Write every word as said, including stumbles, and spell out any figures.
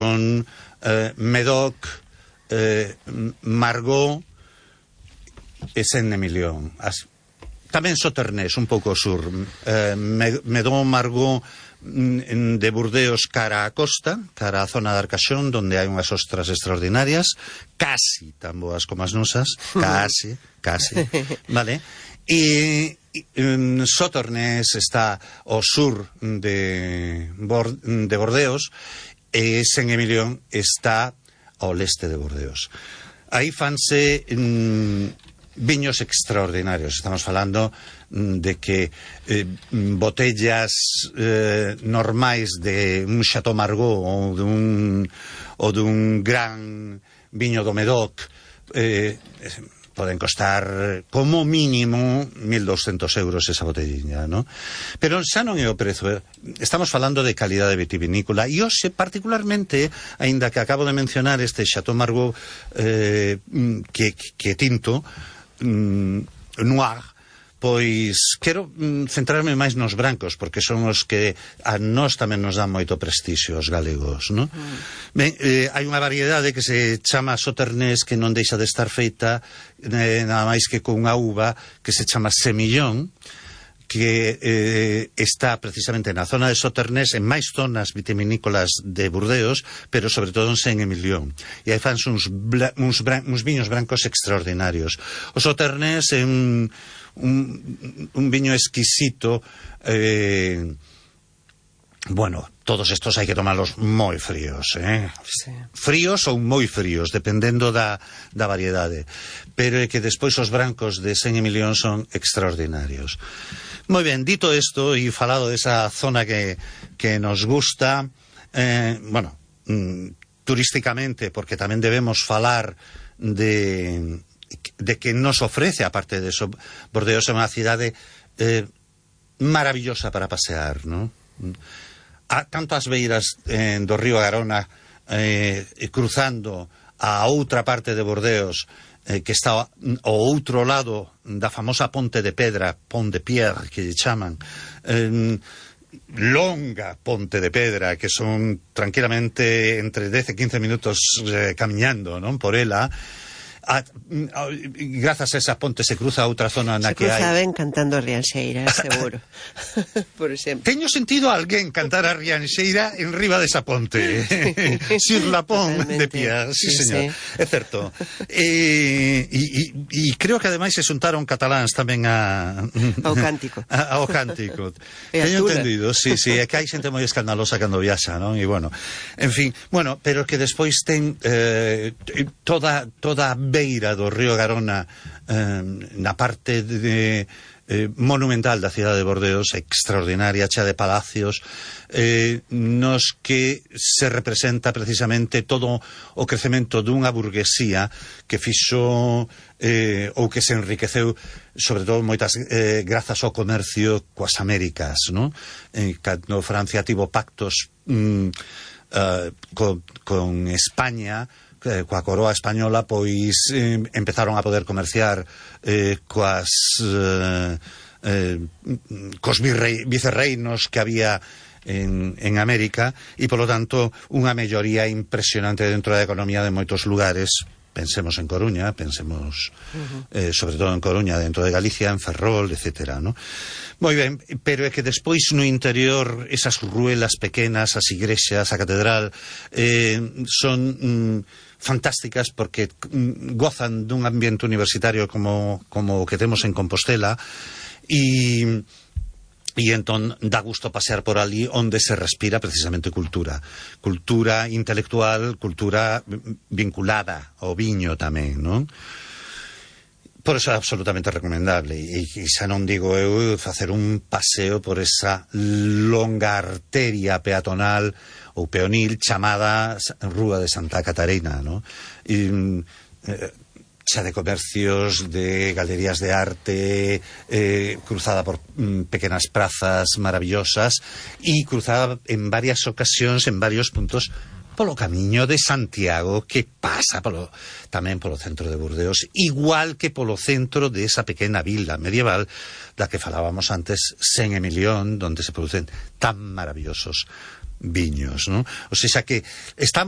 son eh, Médoc, eh, Margaux e Saint-Emilion. As, tamén Sauternes, un pouco sur. Eh, Médoc, Margaux de Burdeos cara a costa, cara a zona de Arcachón, donde hai unhas ostras extraordinarias, casi tan boas como as nosas, casi, casi, vale? E um, Sauternes está ao sur de, Bord de Bordeos e Saint-Emilion está ao leste de Bordeos. Aí fanse mm, viños extraordinarios. Estamos falando mm, de que eh, botellas eh, normais de un Chateau Margaux ou dun, ou dun gran viño do Médoc eh, poden costar como mínimo mil doscientos euros esa botellina, ¿no? Pero xa non é o prezo. Estamos falando de calidade vitivinícola e hoxe particularmente, aínda que acabo de mencionar este Chateau Margaux eh, que, que tinto mm, noir, pois quero mm, centrarme máis nos brancos, porque son os que a nós tamén nos dan moito prestixio os galegos, non? Mm. Ben, eh, hai unha variedade que se chama Sauternes que non deixa de estar feita eh, nada máis que con unha uva que se chama Semillon, que eh, está precisamente na zona de Sauternes, en máis zonas vitivinícolas de Burdeos, pero sobre todo en Saint-Emilion. E aí fanse uns, uns, uns viños brancos extraordinarios. O Sauternes é un, un, un viño exquisito. Eh, bueno, todos estos hai que tomarlos moi fríos, eh? Sí. Fríos ou moi fríos, dependendo da, da variedade. Pero é que despois os brancos de Saint-Emilion son extraordinarios. Moi ben, dito isto e falado desa zona que, que nos gusta, eh, bueno, mm, turísticamente, porque tamén debemos falar de, de que nos ofrece, aparte de eso, Bordeos é unha cidade eh, maravillosa para pasear, ¿no? A, tanto as beiras eh, do río Garona eh, cruzando a outra parte de Bordeos, eh, que está ao outro lado da famosa Ponte de Pedra, Pont de Pierre, que lle chaman, eh, longa Ponte de Pedra, que son tranquilamente entre dez e quince minutos eh, camiñando, non, por ela. A, a, grazas a esa ponte se cruza a outra zona na se que hai... Se cruza ben cantando a Rianxeira, seguro. Por exemplo. Teño sentido a alguén cantar a Rianxeira en riba desa ponte. Sur la Pont de Pierre, sí, sí señor. Sí. É certo. E, e, e creo que ademais se xuntaron cataláns tamén a... ao cántico. A, ao cántico. Teño entendido, sí, sí. É que hai xente moi escandalosa cando viaxa, non? E bueno, en fin, bueno, pero que despois ten eh, toda toda beira do río Garona eh, na parte de, eh, monumental da cidade de Bordeos, extraordinaria, chea de palacios, eh, nos que se representa precisamente todo o crecemento dunha burguesía que fixo eh, ou que se enriqueceu sobre todo moitas eh, grazas ao comercio coas Américas, non? Eh, cando Francia tivo pactos mm, uh, con, con España, coa coroa española, pois eh, empezaron a poder comerciar eh, coas eh, eh, cos virrei, vicerreinos que había en, en América e, polo tanto, unha melloría impresionante dentro da economía de moitos lugares. Pensemos en Coruña, pensemos uh-huh. eh, sobre todo en Coruña, dentro de Galicia, en Ferrol, etcétera, ¿no? Moi ben, pero é que despois no interior esas ruelas pequenas, as igrexas, a catedral eh, son mm, fantásticas porque mm, gozan dun ambiente universitario como, como o que temos en Compostela e E entón dá gusto pasear por ali onde se respira precisamente cultura. Cultura intelectual, cultura vinculada ao viño tamén, non? Por eso é absolutamente recomendable. E, e xa non digo eu facer un paseo por esa longa arteria peatonal ou peonil chamada Rúa de Santa Catarina, non? E, eh, xa de comercios, de galerías de arte, eh, cruzada por mm, pequenas prazas maravillosas e cruzada en varias ocasións, en varios puntos, polo camiño de Santiago, que pasa polo, tamén polo centro de Burdeos, igual que polo centro de esa pequena vila medieval da que falábamos antes, Saint-Emilion, donde se producen tan maravillosos viños, ¿no? O sea que estamos